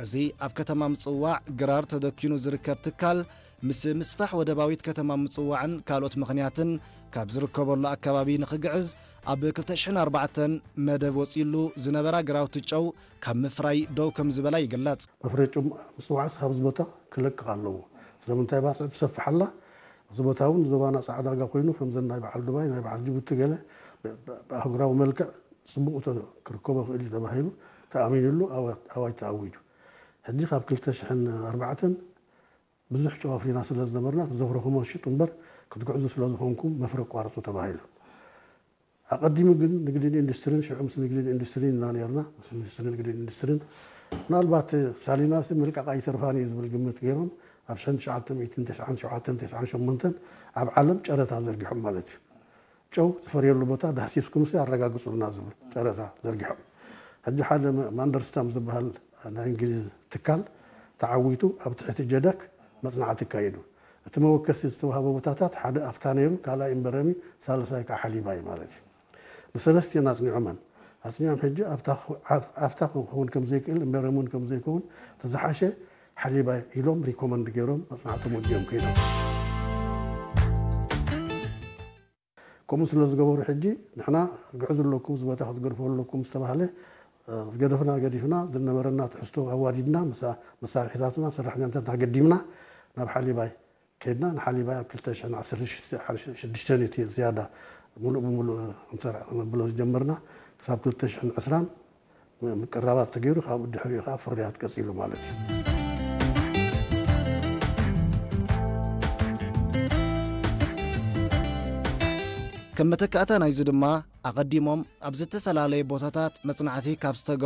እዚ ኣብ ከተማ ምጽዋዕ ግራር ተደኪኑ ዝርከብ ትካል፣ ምስ ምስፋሕ ወደባዊት ከተማ ምጽዋዕን ካልኦት ምኽንያትን ካብ ዝርከበሉ ኣከባቢ ንኽግዕዝ፣ ኣብ ክልተ ሽሕን ኣርባዕተን መደብ ወጺሉ ዝነበራ ግራውቲ ጨው ካብ ምፍራይ ደው ከም ዝበላ ይግለጽ። መፍረይ ጨው ምጽዋዕስ ካብዚ ቦታ ክለቅቕ ኣለዎ። ስለምንታይ ባጽዕ ትሰፍሕ ኣላ? እዚ ቦታ እውን ዞባና ጻዕዳ ዕዳጋ ኮይኑ፣ ከምዘን ናይ በዓል ዱባይ፣ ናይ በዓል ጅቡቲ ገለ ብ-፣ ብ-፣ ብኣህጉራዊ መልክዕ ጽቡቕ ተ-፣ ክርከቦ ይኽእል እዩ ተባሂሉ ተኣሚኑሉ ኣዋ-፣ ኣዋጅ ተኣዊጁ። ሕጂ ካብ ክልተ ሽሕን ኣርባዕተን ብዙሕ ጨው ኣፍሪና ስለ ዝነበርና፣ እቲ ዘፍረኹሞ ሽጡ እምበር ክትጉዕዙ ስለ ዝኾንኩም መፍረ ኣቋርጹ ተባሂሉ። ኣቐዲሙ ግን ንግድን ኢንዱስትሪን፣ ሽዑ ምስ ንግድን ኢንዱስትሪን ኢና ነርና፣ ምስ ሚኒስትሪ ንግድን ኢንዱስትሪን፣ ምናልባት ሳሊናሲ ምልቃቕ ኣይተርፋን እዩ ዝብል ግምት ገይሮም፣ ኣብ ሽሕን ትሽዓተ ሚእትን ተስዓን ሸውዓተን ተስዓን ሸሞንተን ኣብ ዓለም ጨረታ ዘርጊሖም ማለት እዩ። ጨው ዝፈርየሉ ቦታ ዳህሲስኩምሲ ኣረጋግጹልና ዝብል ጨረታ ዘርጊሖም። ሕጂ ሓደ መ-፣ ማንደርስታም ዝበሃል ናይ እንግሊዝ ትካል ተዓዊቱ ኣብ ትሕቲ ጀደክ መጽናዕቲ ኣካይዱ። እቲ መወከሲ ዝተዋህቦ ቦታታት ሓደ ኣፍታ ነይሩ፣ ካልኣይ እምበረሚ፣ ሳልሳይ ከዓ ሓሊባ እዩ ማለት እዩ። ንሰለስቲኦን ኣጽኒዖመን። ኣጽኒዖም ሕጂ ኣብታ ኹ-፣ ኣብ-፣ ኣብታ ክኸውን ከም ዘይክእል፣ እምበረሚ እውን ከም ዘይከውን፣ እቲ ዝሓሸ ሓሊባ ኢሎም ሪኮመንድ ገይሮም መጽናዕቶም ወዲኦም ከይዶም። ከምኡ ስለ ዝገበሩ ሕጂ ንሕና ክትግዕዙ ኣለኩም፣ እዚ ቦታ ክትገድፉ ኣለኩም ዝተባህለ፣ እ፣ ዝገደፍና ገዲፍና፣ ዝነበረና ትሕዝቶ ኣዋዲድና፣ ምሳ-፣ መሳርሒታትና፣ ሰራሕተኛታት ኣገዲምና ናብ ሓሊባይ ከድና። ንሓሊባይ ኣብ ክልተ ሽሕን ዓሰርተ ሽዱሽተን እዩ እቲ ዝያዳ ምሉእ ብምሉእ ክንሰርሕ ክነብሎ ዝጀመርና። ክሳብ ክልተ ሽሕን ዕስራን ም-፣ ምቅራባት ተገይሩ፣ ካብኡ ድሕሪኡ ከዓ ፍርያት ቀጺሉ ማለት እዩ። ከም መተካእታ ናይዚ ድማ፣ ኣቐዲሞም ኣብ ዝተፈላለየ ቦታታት መጽናዕቲ ካብ ዝተገብሩ